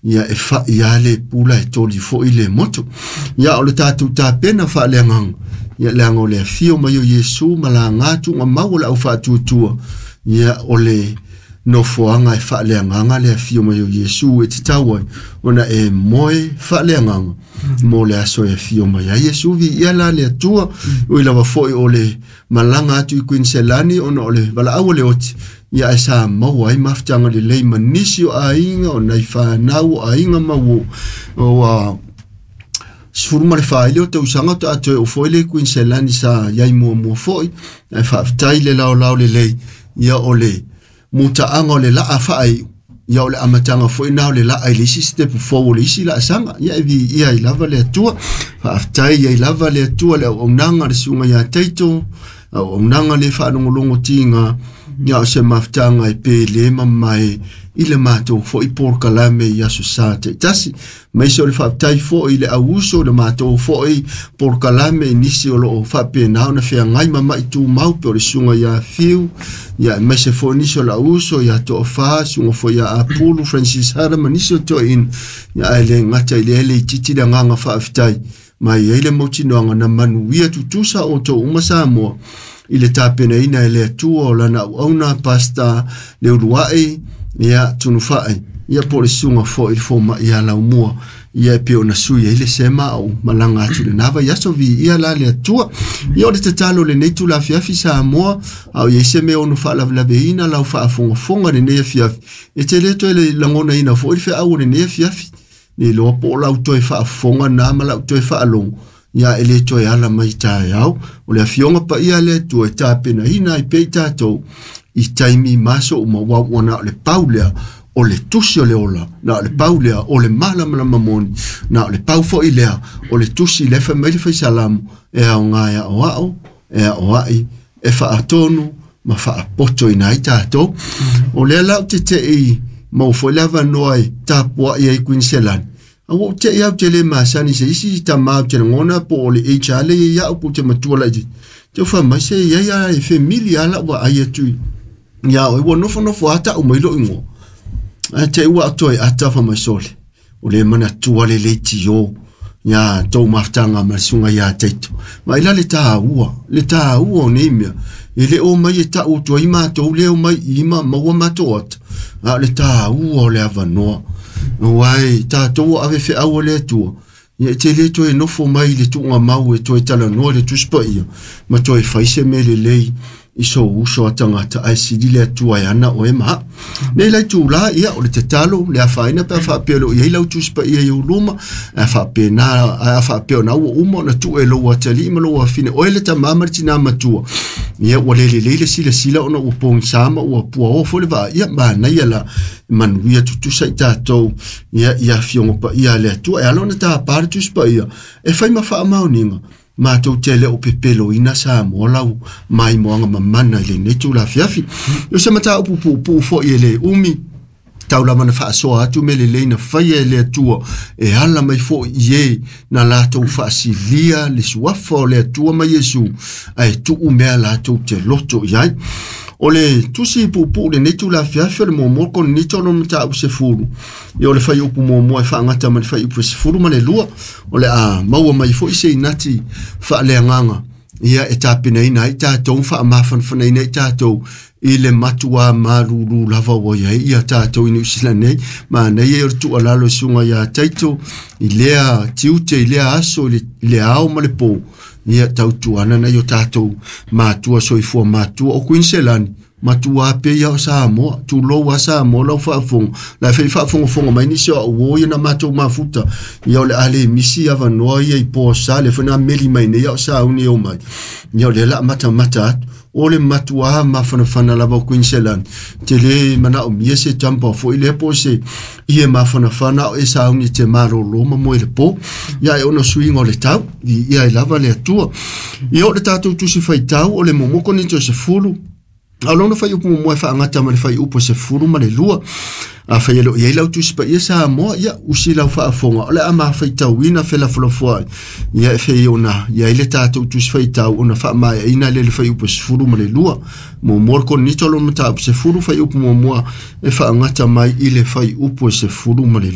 Ia e fa'i lava le pula e toli foi le moto. Ia o le tatou tapena faaleagaga, ia leaga o le afio mai o Iesu ma laga tuugamau o le aufaatuatua, ia o le nofoaga e faaleagaga le afio mai o Iesu e tatau ai ona e moe faaleagaga mo le aso e afio mai ai Iesu. Viia la le Atua, ui lava foi o le malaga atu i Kuiniselani ona o le valaau o le oti, ia ae sa maua ai mafutaga lelei ma nisi o aiga o nai fanau o aiga ma ua 14 i le o tausaga o tatou e oo foi le Kuiniselani sa iai muamua foi, ae faafetai le laolao lelei, ia o le mutaaga o le laa faaiu, ia o le amataga foi na o le laa i le isi sitepu fou o le isi laasaga, ia e viia ai lava le Atua. Faafetai ai lava le Atua le auaunaga a le susuga ia Taito, auaunaga le faalogologo tiga, ia o se mafutaga e pele ma mamae i le matou foi polokalame i aso sa taitasi. Maise o le faafetai foi i le auuso o le matou foi polokalame i nisi o loo faapena ona feagai ma mai tumau pe o le susuga ia Fiu, ia aemaise foi nisi o le auuso ia Toafa, susuga foi ia Apulu, Francis Hara ma nisi o toeaiina, ia ae le gata i lea le itiiti le agaga faafetai mai ai le mautinoaga na manuia tutusa outou uma Samoa i le tapenaina e le Atua o lana auauna Pastor Leuluai ia Tunufa'i ia po o le susuga foi i le fomai ia Laumua ia e pei ona sui ai le sema au malaga atu lena vaiaso. Viia la le Atua. Ia o le tatalo o lenei itula afiafi Samoa, a o i ai se mea ono faalavelaveina lau faafogafoga i lenei afiafi, e te le toe lagonaina foi le feau o lenei afiafi, le iloa po o lau toe faafofoga na ma lau toe faalogo, ia e le toe ala mai taeao. O le afioga paia a le Atua e tapenaina ai pea i tatou i taimi ma aso uma, aua ua na o le pau lea o le tusi o le ola, na o le pau lea o le malamalama moni, na o le pau foi lea o le tusi lea fai mai le Faisalamo, e aoga e aoao, e aoai, e faatonu ma faapotoina ai tatou. O lea la ou te tei maua foi le avanoa e tapuai ai Kuiniselani. A ua ou tei au te le masani se isi tama ou te lagona po o le HR le i au po te matua laitiiti. Te fai mai se i ai a e femili a lau vaai atu ia oe ua nofonofo a tau mai lou igoa. Ae te i ua toe ata fai mai sole. O le manatua le leitio ia tou mafutaga ma le susuga ia Taito. Vaai la le taua, le taua o nei mea. E le o mai e tau atu ai matou le o mai i ma maua matou ata, a o le taua o le avanoa. Aua e tatou o ave feau a le Atua, ia e te le toe nofo mai i le tuugamau e toe talanoa i le Tusi Paia ma toe fai se mea lelei i sou uso a tagata, ae sili le Atua e ana oe ma au. Nei la itula, ia, o le tatalo, le afaina pe a faapea o lo o i ai lau Tusi Paia i ou luma, ae faapena, ae a faapea o na ua uma ona tuu e lou atalii ma lou afine, oe le tama ma le tina matua, ia, ua le lelei le silasila ona ua pogisa ma ua puaoa foi le vaa, ia, manaia la, manuia tutusa i tatou, ia, i afioga paia a le Atua. E ala ona tapa le Tusi Paia, e fai ma faamaoniga, matou te le o pepeloina Samoa lau maimoaga mamana i lenei itula afiafi. O se mataupu puupuu foi e le umi, tau lava na faasoa atu mea lelei na faia e le Atua e ala mai foi i e na latou faasilia le suafa o le Atua ma Iesu, ae tuu mea latou te loto i ai. O le tusi puupuu lenei itula afiafi o le muamua Korinito lona mataupu 10, ia o le fuaiupu muamua e faagata ma le fuaiupu 12, o le a maua mai foi se inati faaleagaga ia e tapenaina ai tatou, faamafanafanaina ai tatou i le matuā malūlū lava ua i ai ia tatou i Niu Sila nei. Manaia ia o le tuualalo i susuga ia Taito i lea tiute, i lea aso, i le ao ma le pō, ia tautuana nai o tatou matua soifua matua o Kuiniselani, matua pea ia o Samoa, tulou a Samoa lau faafofoga, la fai faafogafoga mai nisi o au o ia na matou mafuta, ia o le a le misi avanoa ia i Posa, le foi na meli mai nei au sauni o mai, ia o lea la matamata atu, o le matua mafanafana lava o Queensland, te le manaomia se jumper foi lea po o se ie mafanafana o e sauni te malōlō ma moe le pō, ia e ono suiga o le tau, i ia e lava le Atua. Ia o le tatou tusi faitau o le muamua Korinito 10, a o lona fuaiupu muamua e faagata ma le fuaiupu 12. Afai e le o i ai lau Tusi Paia Samoa, ia, usi lau faafofoga, o le a mafaitauina felafolafoai, ia e fei ona i ai le tatou Tusi Faitau ona faamaeaina lea i le fuaiupu 12. Muamua le Korinito lona mataupu 10, fuaiupu muamua e faagata mai i le fuaiupu 12.